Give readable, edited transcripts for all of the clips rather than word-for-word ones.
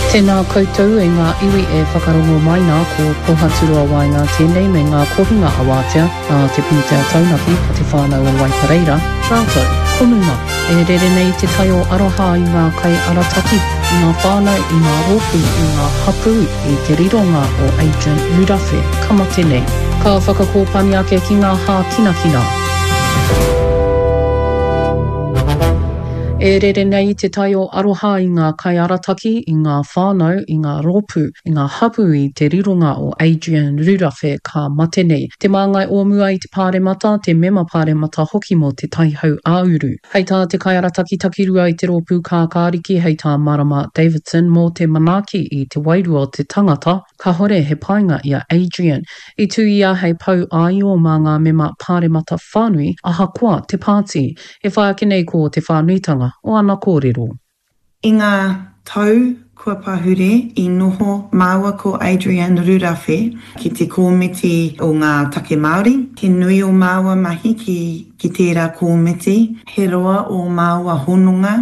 Tēnā koutou e ngā iwi e whakarongo mai nā, ko Pohaturoa Waenga tēnei me ngā kohinga awātea nā te pūtea taunaki a te whānau o Waipareira, rātou ko Numa. E rere nei te tai o aroha i ngā kaiarataki, i ngā whānau, i ngā rōpū, i ngā hapū, i te rironga o Adrian Rurawhe ka mate nei. Ka whakakōpani ake ki ngā hākinakina. E rere nei te tai o aroha i ngā kaiarataki, i ngā whānau, i ngā rōpū, i ngā hapū i te rironga o Adrian Rurawhe ka mate nei. Te māngai o mua i te Pāremata, te mema Pāremata hoki mō Te Tai Hau-ā-uru. Hei tā te kaiarataki takirua i te rōpū kākāriki hei tā Marama Davidson mō te manaaki i te wairua o te tangata, kahore he painga i a Adrian. I tū ia hei pou āio mā ngā mema pāremata whānui ahakoa te pāti. E whai ake nei ko te whānuitanga o ana kōrero. I ngā tau kua pahure i noho māua ko Adrian Rurawhe ki te Kōmiti o ngā Take Māori. He nui ō māua mahi ki ki tērā kōmiti. He roa ō māua hononga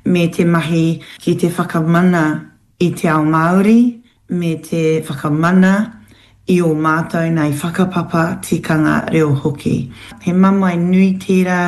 me te mahi ki te whakamana i te ao Māori me te whakamana i ō mātou nei whakapapa, tikanga, reo hoki. He mamae nui tērā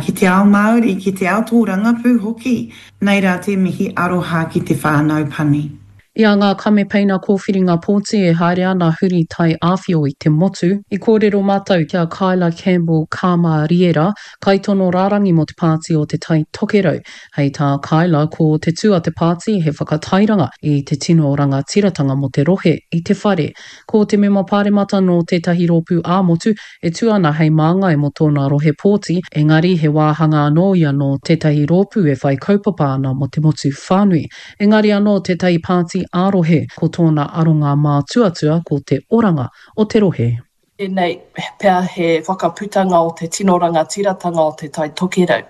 ki te ao Māori, ki te ao tōrangapū hoki. Nei rā te mihi aroha ki te whānau pani. I a ngā kamepeina kōwhiringa pōti e haere ana huri tai āwhio i te motu, i kōrero mātou ki a Kyla Campbell Kāmāriera, kaitono rārangi mō te Pāti o Te Tai Tokerau, Hei tā Kyla, ko te tū a te pāti he whakatairanga i te tino rangatiratanga mō te rohe i te whare. Ko te mema pāremata nō tētahi rōpū ā-motu e tū ana hei māngai mō tōna rohe pōti, engari he wāhanga anō ia nō tētahi rōpū e whai kaupapa ana mō te motu whānui. Engari anō tētahi pāti ā-rohe, ko tōna aronga mātuatua ko te oranga o te rohe. Tēnei pea he whakaputanga o te tino rangatiratanga o Te Tai Tokerau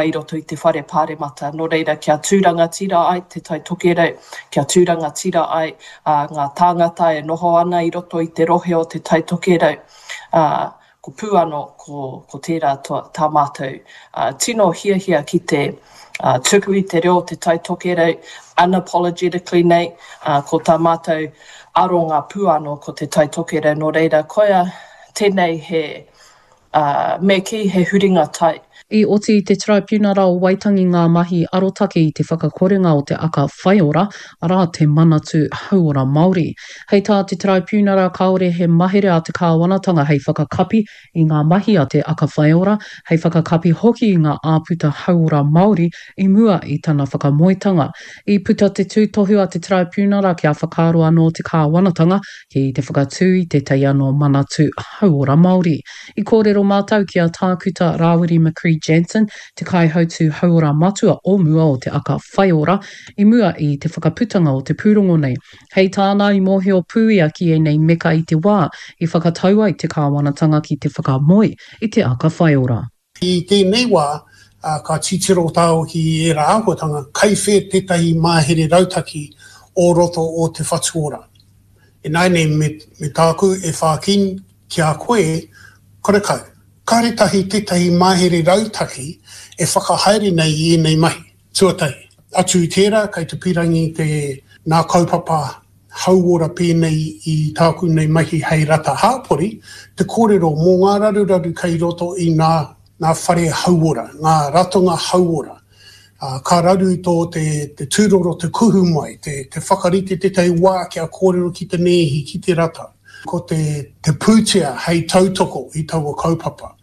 i roto i te Whare Pāremata. Nō reira, kia tū rangatira ai Te Tai Tokerau, kia tū rangatira ai ngā tāngata e noho ana i roto i te rohe o Te Tai Tokerau, ko pū anō ko tērā tā mātou tino hiahia ki te tuku i te reo o Te Tai Tokerau unapologetically nei, ko tā mātou aronga pū anō ko Te Tai Tokerau, nō reira, koia tēnei he, me kī he huringa tai. I oti i te Taraipiunara o Waitangi ngā mahi arotake i te whakakorenga o te aka whaiora, arā, te Manatū Hauora Māori. Hei tā te Taraipiunara kāore he mahere a te kāwanatanga hei whakakapi i ngā mahi a te aka whaiora, hei whakakapi hoki i ngā āputa hauora Māori i mua i tana whakamoetanga. I puta te tūtohu a te Taraipiunara kia whakaaro anō te kāwanatanga ki te whakatū i tētahi anō Manatū Hauora Māori. I kōrero mātou ki a Tākuta Rāwiri McCree-Jansen, te Kaihautū Hauora Matua o mua o te Aka Whaiora, i mua i te whakaputanga o te pūrongo nei. Hei tāna, i mōhio pū ia ki ēnei meka i te wā i whakatau ai te kāwanatanga ki te whakamoe i te Aka Whaiora. I tēnei wā, ka titiro tāua ki ērā āhuatanga, kai whē tētahi mahere rautaki o roto o Te Whatu Ora. Ināianei me, me tāku e whāki ki a koe, karekau. Kāre tahi tētahi mahere rautaki e whakahaere nei i ēnei mahi. Tuatahi, atu i tērā, kei te pīrangi te, nā kaupapa hauora pēnei i tāku nei mahi hei rata hāpori, te kōrero mō ngā raruraru kei roto i nā, ngā whare hauora, ngā ratonga hauora. Ā, ka raru tō te, te tūroro te kuhu mai, te, te whakarite tētahi wā kia kōrero ki te nēhi, ki te rata. Ko te, te pūtea hei tautoko i taua kaupapa.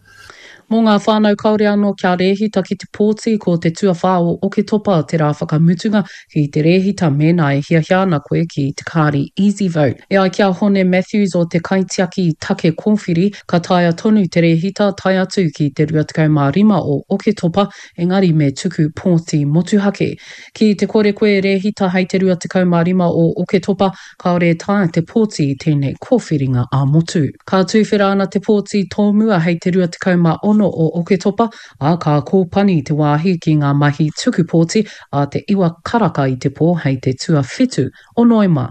Mō ngā whānau kāore anō kia rēhita ki te pōti, ko te tuawhā o Oketopa te rā whakamutunga ki te rēhita mēnā e hiahia ana koe ki te kāri EasyVote. E ai ki a Hone Matthews o te Kaitiaki Take Kōwhiri, ka taea tonu te rēhita tae atu ki te 25 o Oketopa, engari me tuku pōti motuhake. Ki te kore koe e rēhita hei te 25 o Oketopa, Kāore e taea te pōti i tēnei kōwhiringa ā-motu. Ka tuwhera ana te pōti tōmua hei te 26 o Oketopa, ā, ka kōpani te wāhi ki ngā mahi tuku pōti ā te iwa karaka i te pō hei te tuawhitu o Noema.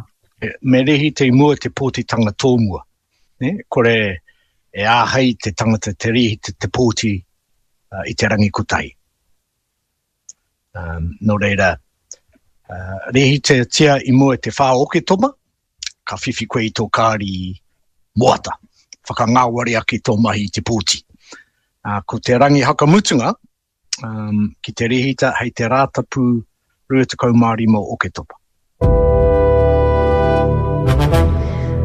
Me rēhita i mua te pōtitanga tōmua, nē, kore e āhei te tangata te rēhita te pōti i te rangi kotahi. Um, nō reira, Rēhitatia i mua i te 4 Oketopa, ka whiwhi koe i tō kāri moata, whakangāwari ake tō mahi i te pōti. Ko te rangi hakamutunga ki te rēhita hei te Rātapu 25 o Oketopa.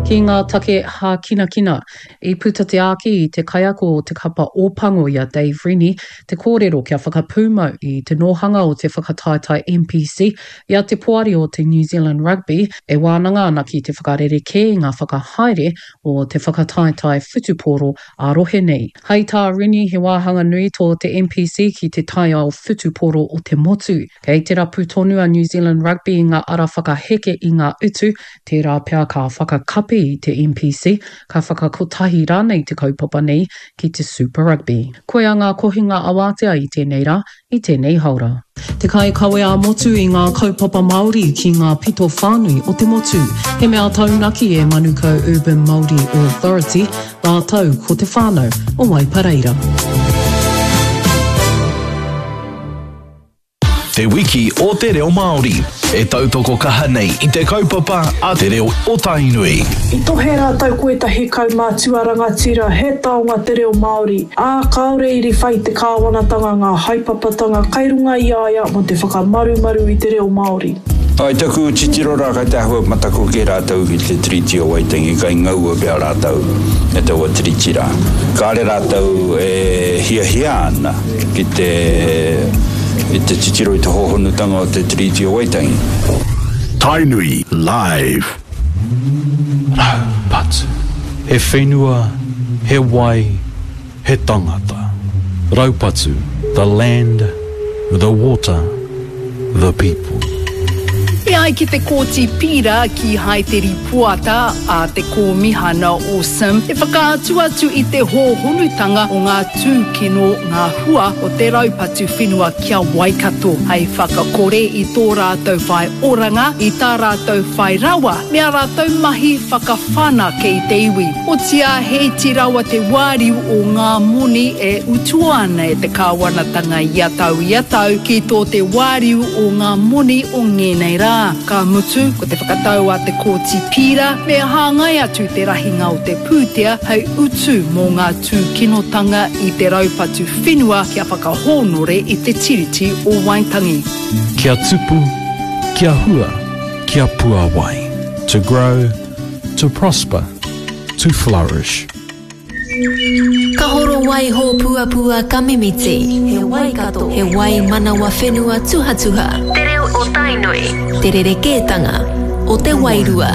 Ki ngā take hākinakina, i puta te āki i te kaiako o te kapa Ōpango i a Dave Rennie te kōrero kia whakapūmau i te nōhanga o te whakataetae NPC i a te poari o te New Zealand Rugby e wānanga ana ki te whakarerekē i ngā whakahaere o te whakataetae whutupōro ā-rohe nei. Hai tā Rennie he wāhanga nui tō te NPC ki te taiao whutupōro o te motu. Kei te rapu tonu a New Zealand Rugby i ngā ara whakaheke i ngā utu, tērā pea ka whakakapi i te NPC, ka whakakotahi rānei te kaupapa nei ki te Super Rugby. Koia ngā kohinga awātea i tēnei rā, i tēnei haora. Te kaikawe ā-motu i ngā kaupapa Māori ki ngā pito whānui o te motu. He mea taunaki e Manukau Urban Māori Authority rātou ko te whānau o Waipareira. Te Wiki o te Reo Māori, e tautoko kaha nei i te kaupapa a Te Reo o Tainui. I tohe rātou ko ētahi kaumātua rangatira he taonga te reo Māori, ā, kāore i riwha i te kāwanatanga ngā haepapatanga kai runga i a ia mō te whakamarumaru i te reo Māori. I taku titiro rā kai te āhua mataku kē rātou ki te Tiriti o Waitangi, kai ngaua pea rātou e taua tiriti rā. Kāre rātou e hiahia ana ki te i te titiro i te hōhonutanga o te Tiriti o Waitangi. Tainui live. Raupatu. He whenua, he wai, he tangata. Raupatu, the land, the water, the people. E ai ki te Kōti Pīra, kīhai te rīpoata a te Kōmihana o Sim e whakaatu atu i te hōhonutanga o ngā tūkino ngā hua o te raupatu whenua ki a Waikato hei whakakore i tō rātou whai oranga, i tā rātou whai rawa me ā rātou mahi whakawhanake i te iwi. Otiā he iti rawa te wāriu o ngā moni e utua ana e te kāwanatanga ia tau ia tau ki tō te wāriu o ngā moni o ngēnei rā. Ka mutu, ko te whakatau a te Kōti Pīra me hāngai atu te rahinga o te pūtea hei utu mō ngā tūkinotanga i te raupatu whenua kia whakahōnore i te Tiriti o Waitangi. Kia tupu, kia hua, kia puawai. To grow, to prosper, to flourish. Ka horo wai hōpuapua ka mimiti. He Waikato, he wai manawa whenua tuhatuha. Te reo o Tainui. Te rerekētanga o te wairua.